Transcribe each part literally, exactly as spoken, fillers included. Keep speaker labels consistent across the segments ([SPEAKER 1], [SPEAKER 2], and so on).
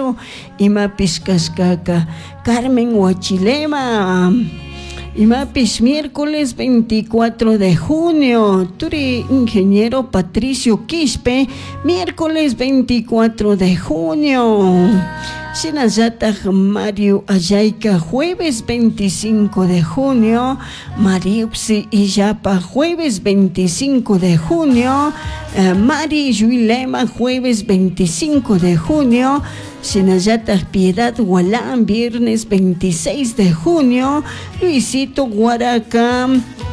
[SPEAKER 1] cumpleañero imapis kashkaka Carmen Huachilema imapis miércoles veinticuatro de junio, turi ingeniero Patricio Quispe, miércoles veinticuatro de junio. Shinallataj Mario Ayayka, jueves veinticinco de junio, Mariuxi Illapa, jueves veinticinco de junio, eh, Mari Yuilema, jueves veinticinco de junio, Shinallataj Piedad Gualán, viernes veintiséis de junio, Luisito Guaraca,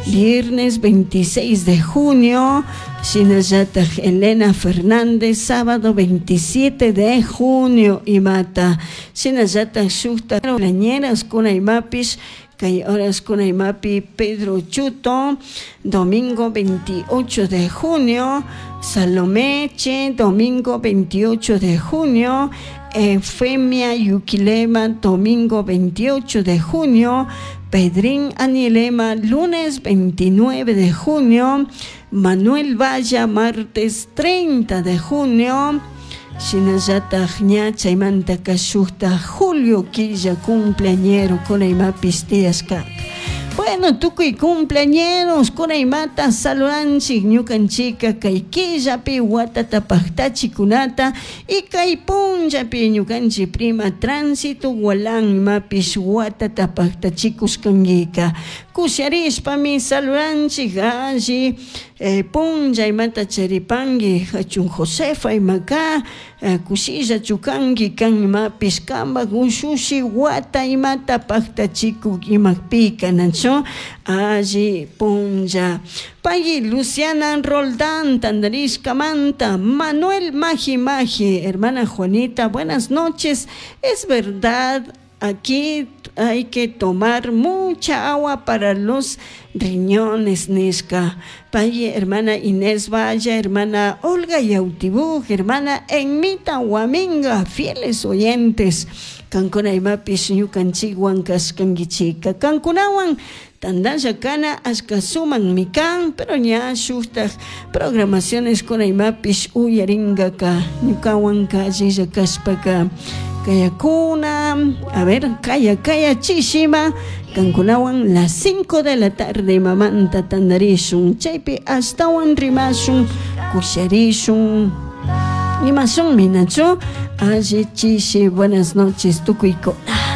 [SPEAKER 1] viernes veintiséis de junio, Shinallataj Elena Fernández, sábado veintisiete de junio, imata. Shinallataj shukta cumpleañeras kuna imapis, kay horas kuna imapi Pedro Chuto, domingo veintiocho de junio, Salomé Che, domingo veintiocho de junio, Efemia Yuquilema, domingo veintiocho de junio, Pedrín Anilema, lunes veintinueve de junio, Manuel Valla, martes treinta de junio, Shinallataj ña chaymanta kashukta Julio quilla cumpleañero kuna imapis tiyashka. Bueno, tukuy cumpleañeros kuna imata saludanchik ñukanchika kay killapi watata pajtachikunata y kay punllapi ñukanchik prima Tránsito Gualán imapis watata pajtachikuskanguika. Kusharishpami saludanchik alli eh, punlla imata charipangi hachun Josefa imaka eh, kushilla chukangi kan imapis kambak ushushi wata imata pajtachikuk imakpika nacho alli punlla. Pagui Luciana Roldán, Tandarishkamanta, Manuel Maji Maji, hermana Juanita, buenas noches. Es verdad, aquí hay que tomar mucha agua para los riñones, Nishka. Pagui, hermana Inés Valla, hermana Olga Yautibuj, hermana Enmita Huaminga, fieles oyentes. Kankuna imapis ñukanchikwan kashkankichika. Kankunawan tandalla kana ashka suman mikan, pero ña shuktaj programaciones kuna imapis uyaringaka ñukawan kallilla kashpaka kayakuna, a ver, kaya kaya chishima, kankunawan las cinco de la tarde mamanta tandarishun, chaypi ashtawan rimashun, kusharishun. Imasun minachu, alli chishi, buenas noches, tukuyko.